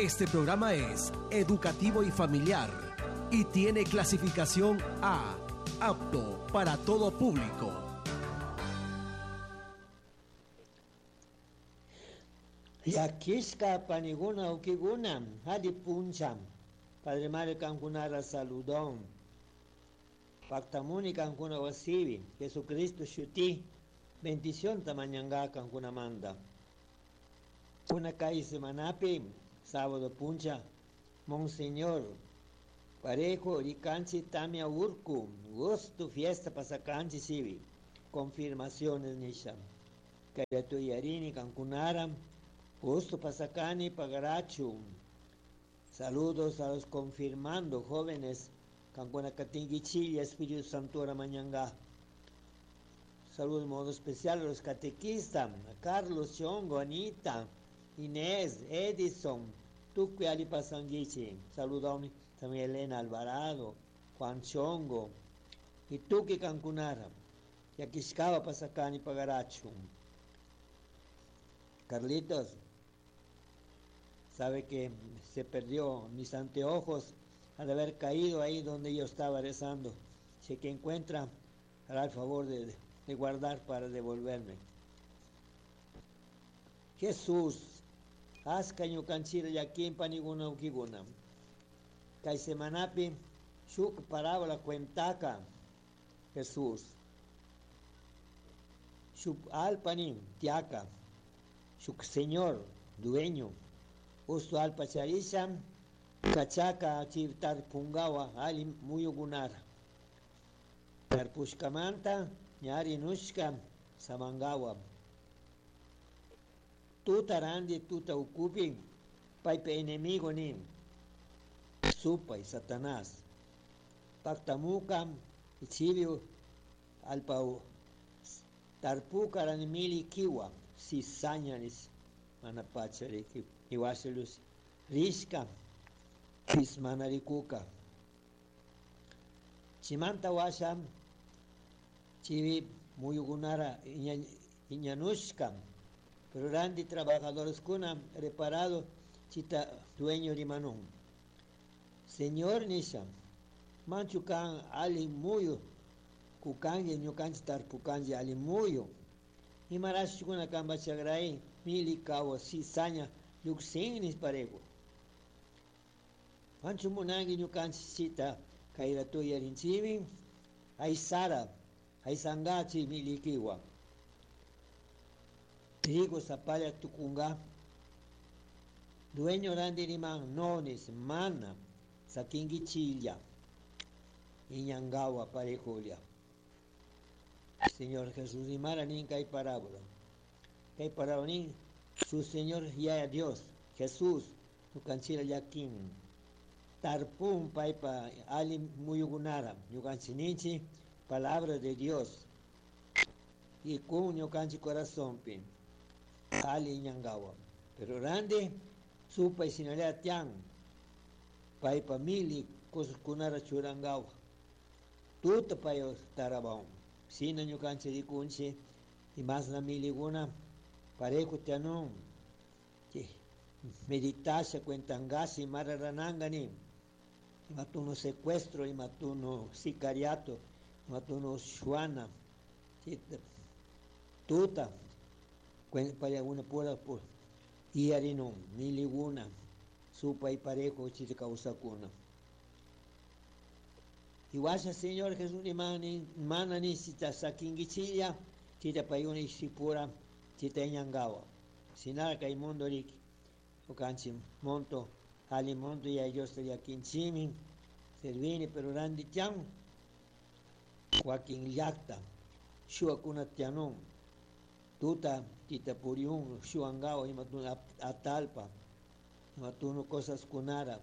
Este programa es educativo y familiar y tiene clasificación A, apto para todo público. Llakishka paniguna ukiguna, hadi puncha, Padre Mario kankunara saludón. Pactamuni kankuna wasibi, Jesucristo shuti, bendición tamañanga kankuna manda. Una calle semanapi, sábado puncha, Monseñor, Parejo, Ricanchi, Tamia Urku, gusto fiesta pasacanchi sibi, confirmaciones nisha. Kayatu yarini kankunara, gusto pasacani pagarachu. Saludos a los confirmando jóvenes, kankuna katingichilla, Espíritu Santo mañanga. Saludos de modo especial a los catequistas, a Carlos Chongo, Anita, Inés, Edison, Tucui Ali Pasanguichi. Saludos también Elena Alvarado, Juan Chongo, y Tuki Cancunara, Yaquiscaba Pasacani Pagarachu. Carlitos, sabe que se perdió mis anteojos al haber caído ahí donde yo estaba rezando. Si que encuentra, hará el favor de guardar para devolverme. Jesús, aska ñukanchira llakinpa niguna ukiguna. Kay semanapi shuk parábola cuentaka Jesús. Shuk alpani tiaka. Shuk señor, dueño. Ustu alpa charisha, kachaka chivtar pungawa ali muyugunara. Tarpushkamanta ñari nushka samangawa. Tuta randi tuta ukupi paypa enemigo nin supay Satanás. Pactamuka ichibi alpa tarpuka rani mili kiwa cizaña nis mana pacha riki iwashalus rishka mana rikuka. Chimanta washa chivi muyugunara iñanushka pero randi trabajadores kuna reparado chita dueño rimanun. Señor nisha, manchu kan ali muyu, kukangi ñukanchi tarpukanchi ali muyu. Imarashkuna kamba chagray, mili kawa cizaña, lluqsin parego. Manchu munangi ñukanchi chita kayratu yarinchimi, aysara, aysangachi milikiwa. Trigo zapalla tukunga, dueño randi riman nonis, mana, sakingichilla, iñangawa parejulia. Señor Jesús rimara nin kay parábola. Kay parábola nin, su Señor ya Dios, Jesús, ñukanchira yakin. Tarpun paypa ali muyugunara, ñukanchininchi, palabra de Dios. Y kun ñukanchi corazonpi, ali iñangawa. Pero randi, supay sinalea tian, paypa mili cosas churangawa. Tuta payo tarabaun. Sina ñukanchi rikunchi, y más na miliguna, parejo tianun. Meditasha cuentangasi mararanangani. Imatuno secuestro, imatuno sicariato, imatuno shuana. Tuta, payaguna pura por iarinun, miliguna, supa y parejo chitacausacuna. Iwasha Señor Jesús imani mana ni sita sakingichilla, chita payuni sipura, chita iñangawa. Sinara kay mundo riki, okanchi monto, ali monto ya Dios te yakinchimi, servini pero randi tian, wakin llakta, shuakuna tianun, tuta tita puriun, shuangawa imatun atalpa, imatuno cosas kunara,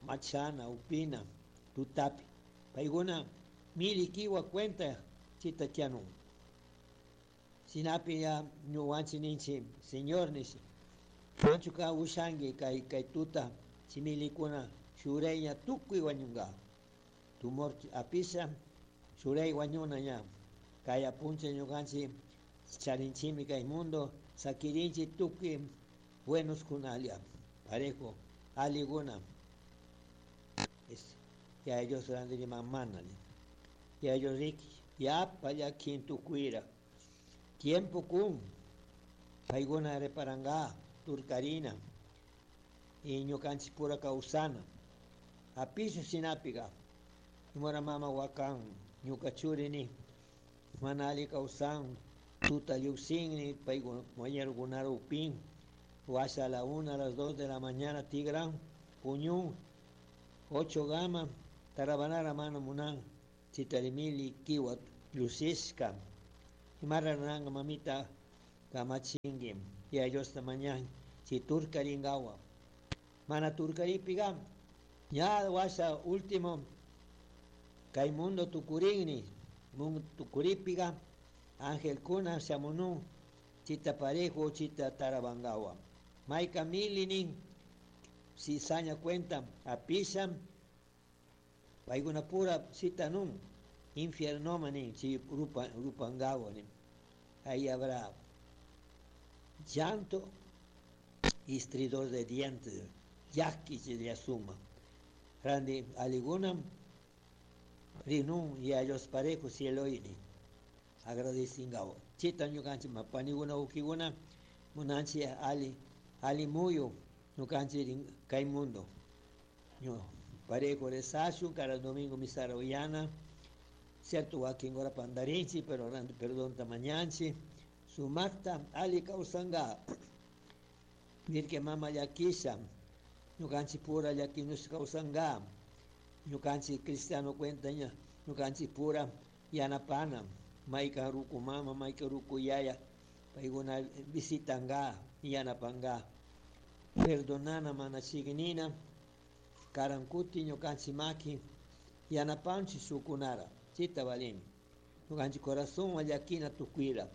machana, upina, tutapi. Paiguna mili kiwa cuenta chita tianun. Sinapi ya ñuwanchi ninchi, Señor nishi. Manchuka ushangi kay kay tuta chimilikuna shureña tukuy wañunga. Tumor apisha shurey wañuna ña. Kay apunche ñukanchi charinchimi kay mundo sakirinchi tukuy buenos kunalia. Parejo. Aliguna es ya ellos randi mamana ya ellos riki yapa llakin tukuira tiempo kun paykuna reparanga turkarina y ñukanchik pura kawsana apishu shinapiga imara mama wakan ñuka churini mana alli kawsan tuta lluksinni paykuna compañerokunara upin washa a la 1 a las 2 de la mañana tigran puñun 8 gama tarabanara mana munan chitarimili kiwa llusishka imara ruranka mamita kamachinki Yaya Diosta mañan chay turkarinkawa mana turkaripiga ña washa último kay mundo tukurinni mundo tukuripiga angelkuna shamunun chita parejo chita tarabankawa mayka mili nin cizaña cuenta apisha paykuna pura shitanun infiernoma nin chay rupankawa nin ahí habrá llanto y estridor de dientes llaki chay suma randi allikuna rinun Yaya Dios parejo cieloyni agradecingawa chita ñukanchik panikuna wawkikuna munanchik alli alli muyu ñukanchik kay mundo parejo rezashun cada domingo misara uyana cierto wakin hora pandarinchik pero randi perdonta mañanchik sumakta alli kawsanka Virgen mama llakisha ñukanchik pura llakinushka kawsanka ñukanchik cristiano cuenta ña ñukanchik pura yanapana maykan ruku mama maykan ruku yaya paykuna visitanka yanapanka perdonana mana chikinina karan kuti ñukanchik maki yanapanchik shukkunara chayta valin ñukanchik corazonwan llakina tukuyla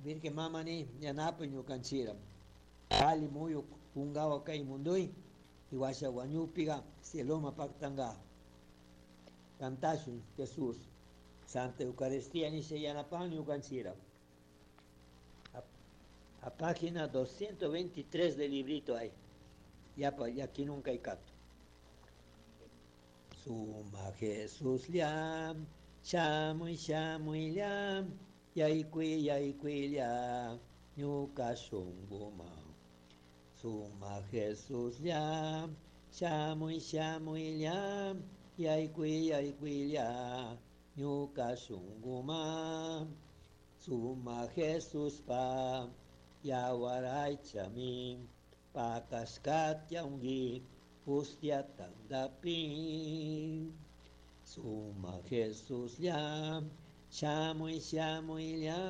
Virgen mama ni yanapay ñukanchikra alli muyu kunkawa kay mundoy y washa wañupiga cieloma paktanka cantashun Jesús Santa Eucaristía nisha yanapan ñukanchikra a página 223 del librito hay yapa llakinun kay kato Suma Jesús lla shamuy shamuy lla yaykuy yaykuy lla ñuka shunkuman Suma Jesús lla shamuy shamuy lla yaykuy yaykuy lla ñuka shunkuman Suma Jesuspa yawar aychami pakashkatyanki hostia tantapi Suma Jesús lla shamuy shamuy lla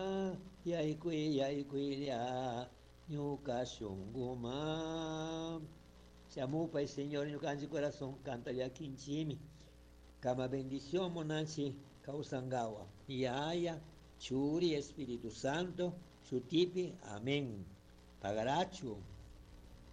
yaykuy yaykuy lla ñuka shunkuman Shamupay Señor ñukanchik corazón kanta llakinchikmi kama bendición munanchik kawsankawa Yaya Churi Espíritu Santo shutipi amén. Pagarachu.